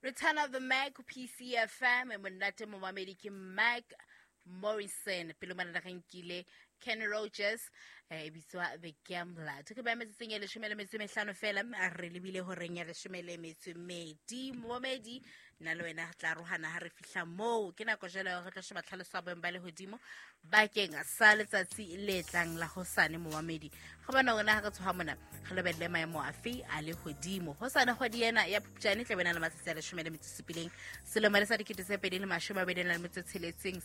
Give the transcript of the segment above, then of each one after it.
Return of the Mac, PCFM, monate momamedi ke Mike Morrison. Pele mona re nkile Kenny Rogers, e bitswa The Gambler. Ke ba metsotsong e 15 fela, re lebile horeng ya 12. Momamedi, nna le wena re tla arohana ha re fihla moo. Ke nako jwale ya hore re tlo sheba tlhaloso ya boemo ba lehodimo bakeng sa letsatsi le tlang la hosane. Momamedi, go bona rona ha re tshoha mona re lebelele maemo afe a lehodimo hosane. Kgwedi ena ya Phupjane tla bena le matsatsi a 17 selemo le sa 2026.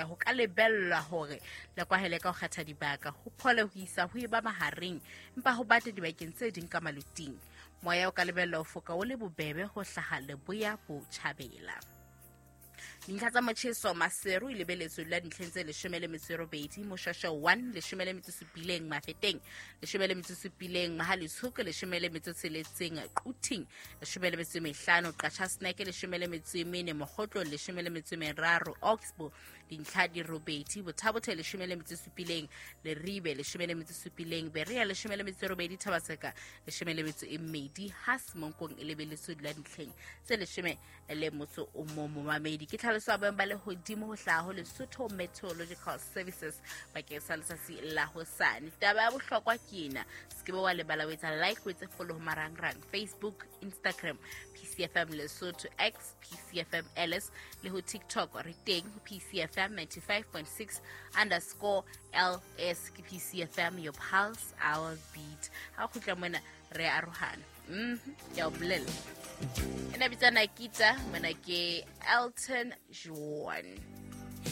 Ho ka lebellwa hore le kwahele ka ho kgetha dibaka, ho phole ho isa ho eba mahareng, empa ho bate dibakeng tse ding ka maluting. Moya o ka lebellwa ho foka o le bobebe ho hlaha leboya botjhabela. Dintlha tsa motjheso: Maseru e lebeletswe la dintlheng tse 18, Moshweshwe 1 17, Mafeteng 17, Mohale'shoek 16, Quthing 15, Qacha's Nek 14, Mokhotlong 13, Oxbow dintlha di 8, Botha-Bothe 17, Leribe 17, Berea 18, Thaba-Tseka 12, ha Semonkong e lebeletswe dula dintlheng tse 11. Momamedi, ke tlhaloso ya boemo ba lehodimo ho hlaha ho Lesotho Meteorological Services bakeng sa letsatsi la hosane. Taba ya bohlokwa ke ena: se ke be wa lebala o etsa like, o etse follow ho marangrang, Facebook, Instagram, PCFM Lesotho, X, PCFM LS, le ho TikTok re teng ho PCFM 95.6_LS. Ke PCFM, your pulse, our beat. Ha o kgutla mona re arohana. Ke a o bolella, ena bitsa Nakita, mona ke Elton John.